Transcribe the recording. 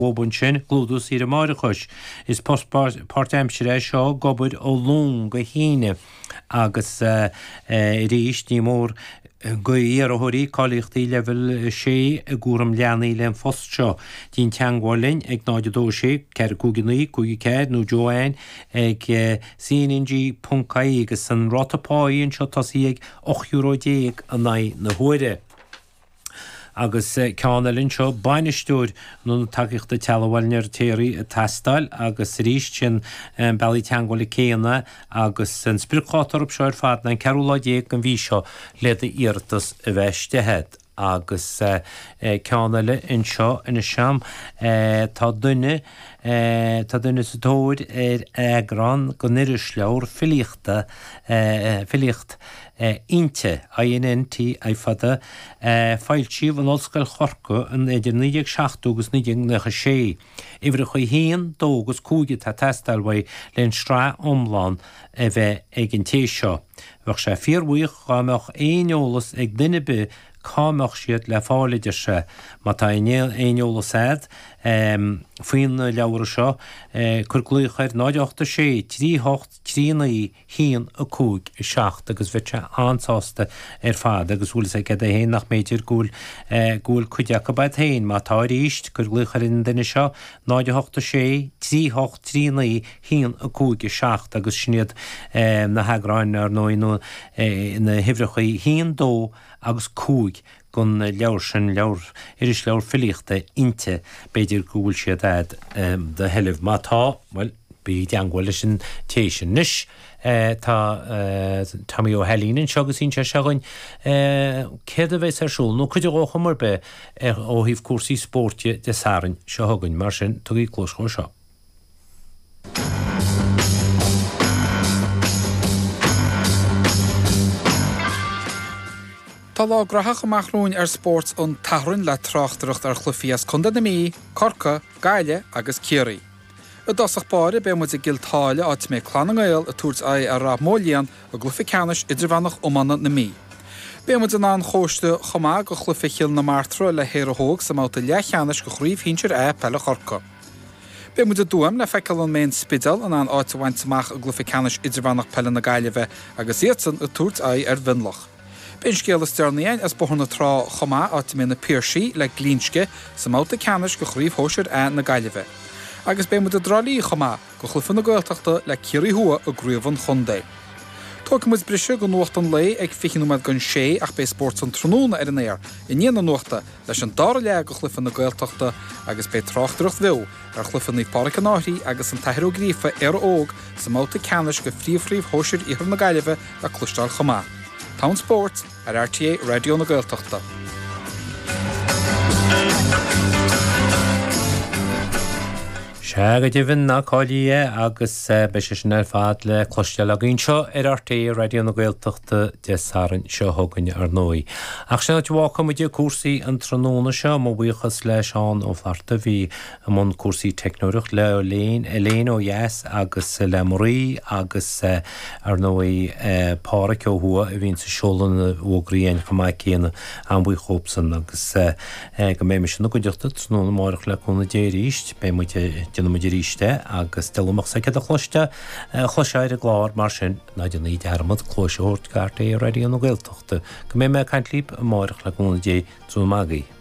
Uathu ansin, clúdú saoire máithreachais. Is post páirtaimseartha é seo ag obair ó Luan go hAoine agus arís ní mór d'iarrthóirí cáilíochtaí Leibhéal 6 i gcúram leanaí le an phost seo. Déan teagmháil linn ag 0 2 6 4 5 9 5 4 nó Joanne ag cnng.ie agus an ráta páí anseo tosaithe ag €18 euro in aghaidh na huaire. Agus ceann eile anseo, bainisteoir an Ionaid Tacaíochta Teaghlaigh Bhaile an Fheirtéaraigh ag teastáil agus arís sin an bealaí teagmhála céanna agus an spriocdháta orthu seo ar fad ná an ceathrú lá déag den mhí seo le d'iarratas a bheith istigh agat. Agus ceann eile anseo anois a'm, tá duine, tá duine sa tóir ar eagrán den irisleabhar filíochta, filíocht, Innti, I-N-N-T-I fada, foilsíodh in Ollscoil Chorcaí in idir 1970 agus 1996. Uimhreacha 1, 2 agus 5 atá ag teastáil uaidh le an sraith iomlán a bheith ag an té seo. Bheadh sé fíorbhuíoch dhá mbeadh aon eolas ag duine ar bith cá mbeadh siad le fáil, a deir sé. Má tá aon eolas a'd faoi na leabhra seo, cuir glaoch ar 0 8 6 3 8 3 9 1, 5, 7 agus bheadh sé an-sásta ar fad agus bhfuil fhios agat é féin nach mb'fhéidir go bhfuil, go bhfuil cuid acu a'd féin. Má tá arís, cuir glaoch ar an duine seo, 0 8 6 3 8 3 9 1 5 7 agus sin iad na heagráin, ar ndóigh, nó na huimhreacha 1, 2 agus 5 den leabhar sin, leabhar, irisleabhar filíochta Innti, b'fhéidir go bhfuil siad a'd do sheilbh. Má tá, bhuel, bí i dteangmháil leis an té sin. Anois, tá Tommy Ó hAilín anseo agus inseoidh sé dhuinn céard a bheas ar siúl, nó cuid dhó chuma ar bith, ó thaobh cúrsaí spóirt de, Dé Sathairn seo chugainn. Mar sin, tugaigí cluas dhó seo. Tá lá graitheach amach romhainn ar Spórt an tSathairn le tráchtaireacht ar chluichí as Contae na Mí, Corcaigh, Gaillimh agus Ciarraí. I dtosach báire beidh muid i gCill tSáile áit a mbeidh Clann na nGael ag tabhairt aghaidh ar Rath Moliain i gcluiche ceannais idirmheánach iomána na Mí. Beidh muid an Chóiste chomh maith go chluiche Chill na Martra le hÉire Óg sa mbabhta leathcheannais de Chraobh Shinsir A Peile Chorcaí. Beidh muid i dTuaim le feiceáil an mbeidh an Spidéal in ann áit a bhaint amach i gcluiche ceannais idirmheánach peile na Gaillimhe agus iadsan ag tabhairt aghaidh ar Mhionlach. Beidh an scéal is deireanaí againn as Bóthar na Trá chomh maith, áit a mbeidh na Piarsaigh le Glinsce sa mbabhta ceannais de Chraobh Shóisir A na Gaillimhe. Agus beidh muid i dTrá Lí chomh maith go chluiche na Gaeltachta le Ciarraí Thuaidh i gcraobh an chontae. Tógfaidh muid briseadh go nuacht an lae ag 20 nóiméad don sé ach beidh Spórt an Tráthnóna ar an aer i ndiaidh na nuachta leis an dara leath de chluiche na Gaeltachta agus beidh tráchtaireacht bheo ar chluiche Naomh Pádraig an Fhairche agus an tAthair Ó Gríofa, Éire Óg, sa mbabhta ceannais de Phríomhchraobh Shóisir Iarthar na Gaillimhe le cloisteáil chomh maith. T-am spóirt ar RTÉ Raidió na Gaeltachta. Sea, go deimhin, ná cailligí é agus beidh sé sin ar fad le cloisteáil againn anseo ar RTÉ Raidió na Gaeltachta Dé Sathairn seo chugainn, ar ndóigh. Ach sin an áit a bhfágfaidh muid cúrsaí an tráthnóna seo. Mo bhuíochas le Seán Ó Flatharta a bhí i mbun cúrsaí teicneoireacht, le Elaine ó dheas agus le Marie agus, ar ndóigh, Páraic ó thuaidh a bhíonns ag seoladh na bhfógraí againn chomh maith céanna. An-bhuíoch dhóibhsan agus go mbeidh mise ina gcuideachta tráthnóna amárach le cúnamh Dé arís. Beidh muid, déanfaidh muid arís é agus dealbh amach soicead a chloiste, a chloisfeá ar an gclár mar sin, ná déanaigí dearmad cluais a thabhairt go RTÉ Raidió na Gaeltachta. Go mbeidh mé ag caint libh amárach le cúnamh Dé, tráthnóna maith agaibh.